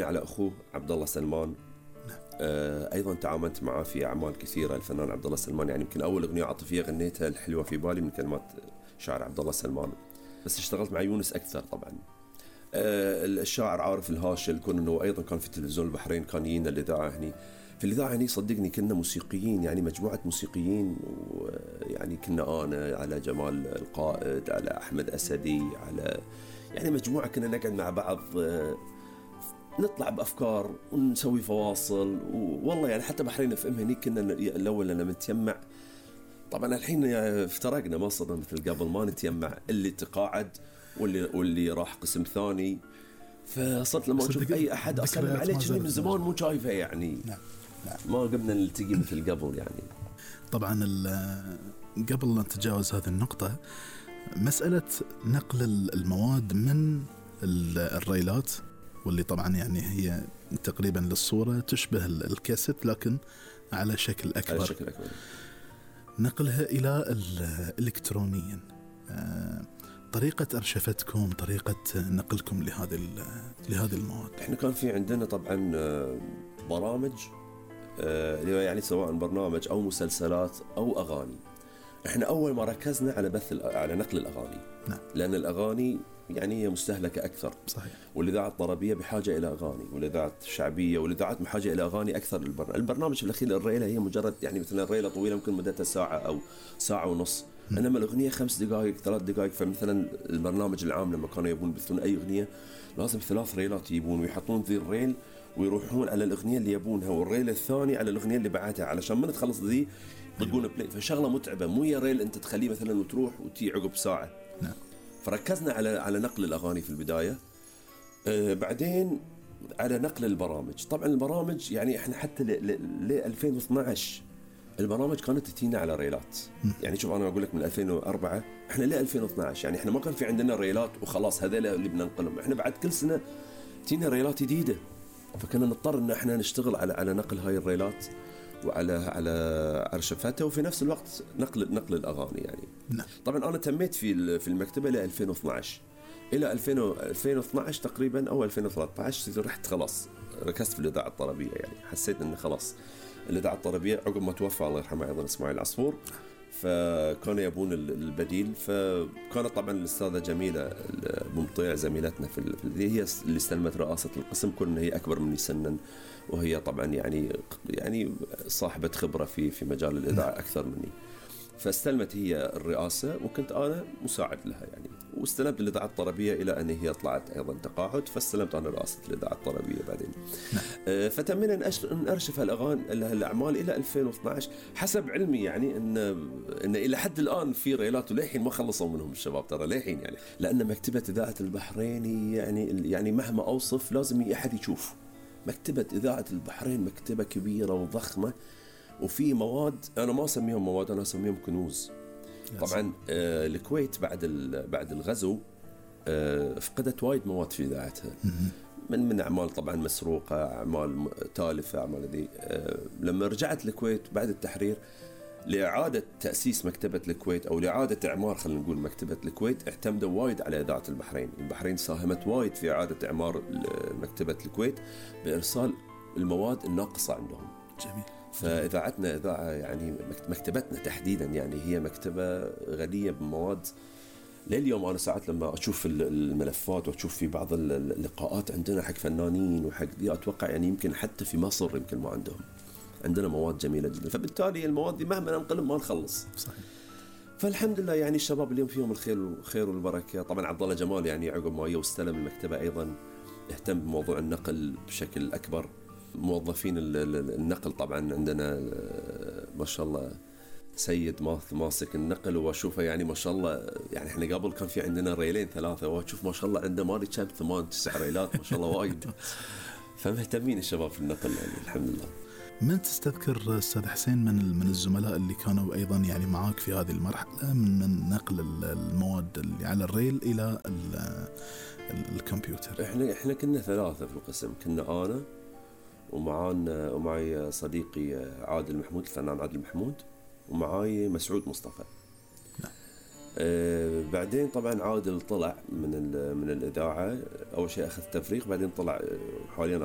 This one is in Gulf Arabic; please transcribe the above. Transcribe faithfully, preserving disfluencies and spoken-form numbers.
على أخوه عبد الله سلمان. آه أيضا تعاملت معه في أعمال كثيرة. الفنان عبد الله سلمان يعني يمكن أول أغنية عاطفية غنيتها الحلوة في بالي من كلمات شاعر عبد الله سلمان. بس اشتغلت مع يونس أكثر طبعا. آه الشاعر عارف الهاشل، كون أنه أيضا كان في تلفزيون البحرين، كان يجينا الإذاعة هني. في الإذاعة هني صدقني كنا موسيقيين، يعني مجموعة موسيقيين، ويعني كنا أنا على جمال القائد، على أحمد أسدي، على يعني مجموعة كنا نقعد مع بعض، آه نطلع بأفكار ونسوي فواصل. والله يعني حتى بحرين اف ام هني كنا الأول لما نتجمع. طبعا الحين افترقنا، ما صرنا مثل قبل، ما نتجمع، اللي تقاعد واللي واللي راح قسم ثاني. فصرت لما أشوف أي أحد أسلم عليه كذي من زمان مو شايفه يعني. نعم. نعم. ما قمنا نلتقي مثل قبل يعني. طبعا قبل أن نتجاوز هذه النقطة، مسألة نقل المواد من الريلات، واللي طبعا يعني هي تقريبا للصورة تشبه الكاسيت لكن على شكل أكبر, على شكل أكبر. نقلها إلى الإلكترونيا، طريقة أرشفتكم، طريقة نقلكم لهذه لهذه المواد. إحنا كان في عندنا طبعا برامج، يعني سواء برنامج أو مسلسلات أو أغاني. إحنا أول ما ركزنا على بث على نقل الأغاني. نعم. لأن الأغاني يعني هي مستهلكة أكثر. صحيح. والإذاعة الطربية بحاجة إلى أغاني، والإذاعة الشعبية والإذاعات بحاجة إلى أغاني أكثر. البرنامج, البرنامج في الأخير الريلة هي مجرد يعني مثلا الريلة طويلة ممكن مدتها ساعة أو ساعة ونص، م. إنما الأغنية خمس دقائق ثلاث دقائق. فمثلا البرنامج العام لما كانوا يبون يبثون أي أغنية لازم ثلاث ريلات يبون ويحطون ذي الريل ويروحون على الأغنية اللي يبونها، والريل الثاني على الأغنية اللي بعدها، علشان ما نتخلص ذي يطلقون بلاي. فشغلة متعبة، مو يا ريل أنت تخليه مثلا وتروح وتي عقب ساعة. نعم. فركزنا على على نقل الأغاني في البداية. آه بعدين على نقل البرامج. طبعا البرامج يعني احنا حتى ل ألفين واثناشر البرامج كانت تتينا على ريلات. يعني شوف انا اقول لك من ألفين وأربعة احنا ل ألفين واثناشر يعني احنا ما كان في عندنا ريلات وخلاص هذول اللي بننقلهم. احنا بعد كل سنة تينا ريلات جديدة، فكنا نضطر ان احنا نشتغل على على نقل هاي الريلات وعلى على أرشفتها، وفي نفس الوقت نقل نقل الأغاني يعني. نعم. طبعا أنا تميت في في المكتبة ل ألفين واثناشر إلى ألفين واثناشر تقريبا أو ألفين وثلاثة عشر رحت خلاص ركزت في الإذاعة الطربية. يعني حسيت إن خلاص الإذاعة الطربية عقب ما توفى الله يرحمه أيضا إسماعيل العصفور، فكانوا يبون البديل. فكانت طبعا الأستاذة جميلة بمطيع زميلتنا في هي اللي استلمت رئاسة القسم، كون هي أكبر مني سنا، وهي طبعا يعني يعني صاحبة خبرة في في مجال الإذاعة أكثر مني. فاستلمت هي الرئاسة وكنت أنا مساعد لها يعني. واستلمت الإذاعة الطربية إلى أن هي طلعت أيضا تقاعد، فاستلمت أنا رئاسة الإذاعة الطربية بعدين. آه فتمنى أن أرشف الأغاني الأعمال إلى ألفين واثناشر حسب علمي، يعني إن إن إلى حد الآن في ريلات وليحين ما خلصوا منهم الشباب ترى ليحين يعني. لأن مكتبة إذاعة البحرين يعني يعني مهما أوصف لازم أحد يشوف. مكتبة إذاعة البحرين مكتبة كبيرة وضخمة، وفي مواد أنا ما أسميهم مواد، أنا أسميهم كنوز. طبعا آه الكويت بعد بعد الغزو آه فقدت وايد مواد في إذاعتها، من من أعمال طبعا مسروقة، أعمال تالفة، أعمال ذي. آه لما رجعت الكويت بعد التحرير لإعادة تأسيس مكتبة الكويت أو لإعادة إعمار خلينا نقول مكتبة الكويت، اعتمدوا وايد على إذاعة البحرين. البحرين ساهمت وايد في إعادة إعمار مكتبة الكويت بإرسال المواد الناقصة عندهم. جميل. فإذاعتنا إذاعة يعني مكتبتنا تحديدا يعني هي مكتبة غنية بمواد. لليوم أنا ساعات لما أشوف الملفات وأشوف في بعض اللقاءات عندنا حق فنانين وحق دي، أتوقع يعني يمكن حتى في مصر يمكن ما عندهم. عندنا مواد جميلة جدا، فبالتالي المواد دي مهما ننقلهم ما نخلص. صحيح. فالحمد لله يعني الشباب اليوم فيهم الخير والخير والبركة. طبعا عبد الله جمال يعني عقب ما واستلم المكتبة أيضا اهتم بموضوع النقل بشكل أكبر. موظفين النقل طبعا عندنا ما شاء الله سيد ماث ماسك النقل، واشوفه يعني ما شاء الله. يعني احنا قبل كان في عندنا ريلين ثلاثة، واشوف ما شاء الله عنده ماري كم ثمان تسع ريلات ما شاء الله وايد. فمهتمين الشباب في النقل يعني الحمد لله. من تستذكر أستاذ حسين من من الزملاء اللي كانوا أيضا يعني معاك في هذه المرحلة من, من نقل المواد اللي على الريل إلى الكمبيوتر؟ احنا احنا كنا ثلاثة في القسم، كنا أنا ومعانا ومعي صديقي عادل محمود الفنان عادل محمود، ومعاي مسعود مصطفى. آه بعدين طبعا عادل طلع من من الإذاعة. أول شيء أخذ تفريغ، بعدين طلع حواليا